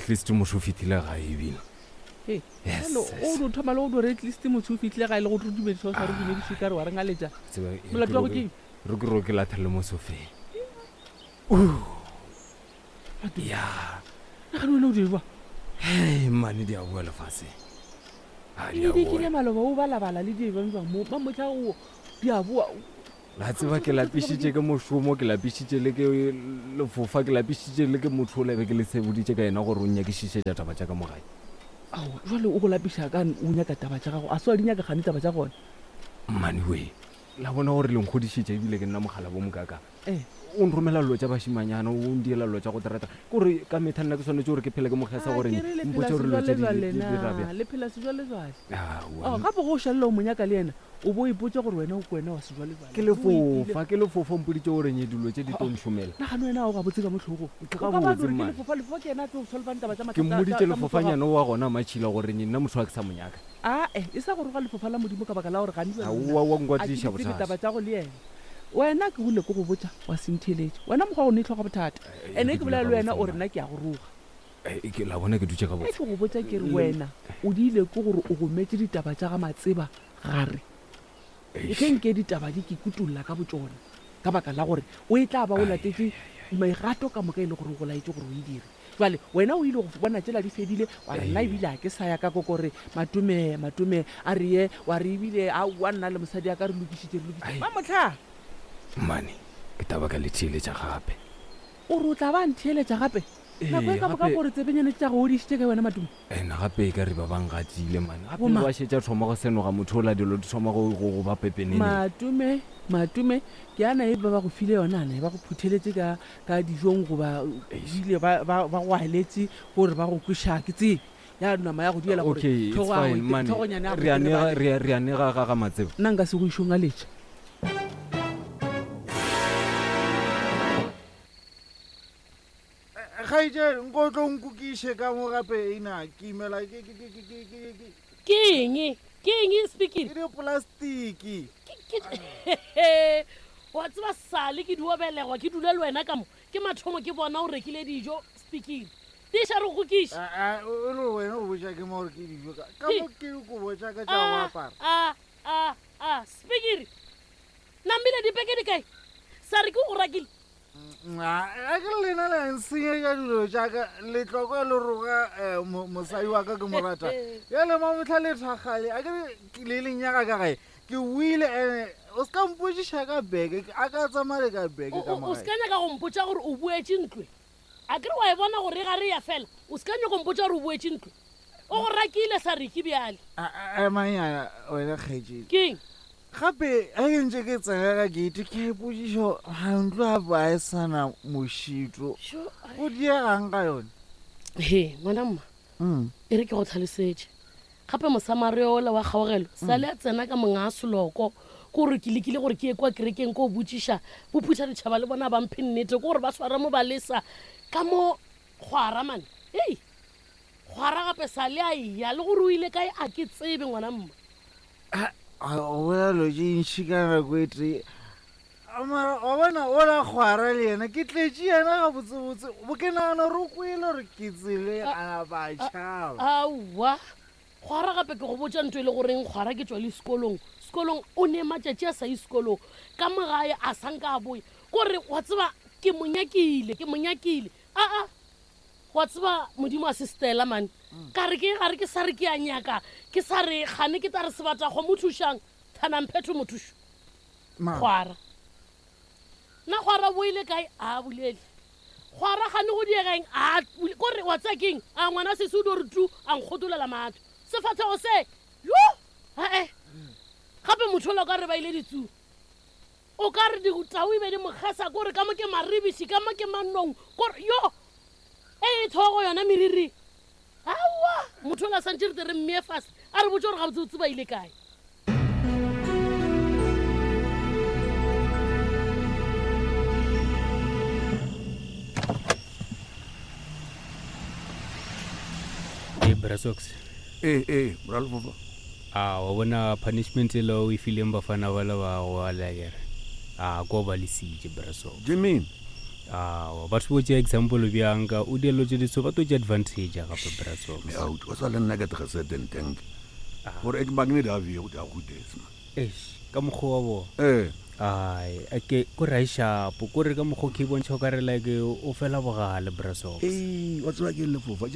At least motho o fihlile gae ebile. Hey, Yes, jalo yes. o no thoma le go dore at least motho o fihlile gae le go re dumediša o sa re dumediše ka re wa re ngaletša. Tseba, e, Molato ke wa go ro- ke eng? Re ke ro ke lathele mo sofeng. Ya. Nagane wena o di jwa. Hei, mane di a boa lefaseng. A di a Di kile boa. maloba o balabala le di bang bang mo mamotlha o di a boa. La tseba ke lapišitše ke mošomo, ke lapišitše le ke lefofa, ke lapišitše le ke motho o lebe ke le seboditše ka yena gore o nyakišišetša taba tša ka mo gae. Ao, jwale o go lapiša ka o nyaka taba tša gago, a se wa di nyaka gane taba tša gona. Mmane we, la bona gore le nkgodišitše ebile ke nna mogala bo mokaka. Eh. O nromela dilo tša bašimanyana, o ndiela dilo tša go terata. Ke gore ka metha nna ke swanetše gore ke phele ke mo kgesa A gore ke re le phela mpotše gore dilo tše di sejwalejwale di dira na, bjang. le phela sejwalejwale. Aowa. Oh, gape go o šalela o mo nyaka le yena, O bo ipotša gore wena o ke wena wa sejwalejwale. Ke lefofa, ke lefofa, o mpoditše gore nye dilo tše di tlo nšomela. Nagane wena ga o gabotse ka mo hlogong. Ke O ka ba gabotse, gore ke mma. lefofa, lefofa ke yena a tlo solvang taba tša Ke mathata tša, mmoditše tša motho wa gago. lefofanyana wa gona Matšhila gore nye nna motho a ke sa mo nyaka. Ae, e sa go roga lefofa la Modimo ka baka la gore gane bjale nna Aowa, wa a ke nkwatiša di tsebe bothata. taba tša go le yena. Wena ke rile ke go botša wa se ntheeletše. Wena mokgwa wa go ne hloga bothata. Eh, Ene ke ke dula bolela le wena gabotse, o re mma. nna ke a go roga. Eh, ke la bona ke dutše Ge gabotse. ke go botša ke re Le- wena o diile ke gore o gometše ditaba tša ga Matseba gare. Eish. Ge nke ditaba di ke kutolla ka botšona, ka baka la gore o e tla ba o latetše megato ka moka e le gore o go laetše gore o e dire. Jwale wena o ile go bona tšela di fedile, wa re nna ebile ga ke sa ya ka kokore Matome, Matome a re ye, wa re ebile aowa nna le mosadi ya ka re lokišitše, re lokišitše. Ai. Mamohla! Mmane, ke taba ka le theeletša gape. O re o tla ba a ntheeletša gape? Nako e Ee, ka moka gape. gore tsebenyane tša go odišitše kae wena Matome? And gape e ka re ba bang gatile man. Gape Bo mang? ba šetša thoma go senoga motho ola dilo di thoma go go go ba pepeneneng. Matome, Matome, ke ana e ba ba go file yona ana e ba go phutheletse ka ka dijong goba Eish. bile ba ba ba go aletše gore ba go kweša ke tsebe ya nama ya go diela gore Okay, it's tlhogo ya fine go man. tlhogonyana ya go Re a nega terebale. re a re a nega ga ga Matseba. Nna nka se go išo ngaletša. Kgaetšedi, nko o tlo nkokiše ka mo gape ena ke imela ke ke ke ke ke ke ke Ke eng? Ke eng Spikiri? ke diplastiki. Ke ke wa tseba sale ke dio belegwa ke dule le wena ka mo ke mathomo ke bona o rekile dijo Spikiri. Tiša re go kokiše. A a o le wena o botša ke mo gore ke dijo ka ka mo ke dikobo tša ka tša go A apara. a a a Spikiri. Namile dipeke di kae? Sa re ke o rakile. A ke lena le nsenyetša dilo tša ka le tloko le roga eh, mo- mosadi wa ka ke mo rata bjale mamotlha le thakgale a ke re le leng nyaka ka gae ke wile ene o se ka mpotsiša ka beke a ka tsamaya le ka beke O- ka o mo o se gae ka nyaka go mpotša gore o boetše ntlo a kere wa e bona gore e ga re ya fela o se ka nyaka go mpotša gore o boetše ntlo o go rakile sa reke bjale A- a- emanyana wena kgaetšedi keng Gape ge ke ntše ke tsena ka gate ke a ipotšiša ga ntlo gape ga e sa na mošito. Go diegang ka yone? He, ngwana mma, Mm. e re ke go tlhalosetše. Gape Mosamaria ola wa kgaogelo sa le a tsena ka monga seloko ke gore ke lekile gore ke ye kwa kerekeng ko botšiša bophutha ditšhaba le bona ba mphe nnete ke gore ba swara mo ba lesa ka mo kgwara mane ei kgwara gape sa le a eya le gore o ile kae a ke tsebe ngwana mma O bolela dilo tše ntši ka nako e tee. Mara wa bona ola kgwara le yena ke tletše yena gabotsebotse bo ke nagana gore o kwele gore ke tsele a napa a tšhaba. Aowa kgwara gape ke go botša ntho e le goreng kgwara ke tšwa le sekolong sekolong o ne matšatši a sa ye sekolong ka mo gae a sa nka a boya kore wa tseba ke mo nyakile ke mo nyakile aa Wa tseba Modimo a se Stella mane. Ka re ke gare ke sa re ke a nyaka, ke sa re gane ke tla re sebata kgomo thušang, thanang phetho mothušo. Mang? Kgwara. Na kgwara o boile kae? A bolele. Kgwara gane go diega eng? A bule. Ko re wa tseba keng? A ngwana sesi o dio re tu a nkgotolela matho. Sefahlego se. Yo! Ae. Gape motho ola o ka re ba ile ditsu. O ka re ditau e be di mo kgesa ko re ka mo ke maribiši ka mo ke manong ko re yo e e thogo yona meriri aowa motho ola santše re tle re mmeye fase a re botse gore gabotsebotse ba ile kae. Ee, Bra Sox. Ee, ee, Bra Lefofa. A wa bona punishment ela o e fileng bafana bale ba go ala kere. A ko ba lesitše Bra Sox. Jimmy. Awa, batho bo tšea example bjang ka o dielo tše diso ba to tšea advantage ya gape Brasox. Me out, o sa le nna ke tga certain tank. Gore ek magne da vi go da go des man. Eish, ka mokgwa wa bo. Eh. Ai, ake ko ra shapo, ko re ka mokgwa ke bontšha o ka re like o fela bogale Brasox. Ei, wa tseba ke lefofa.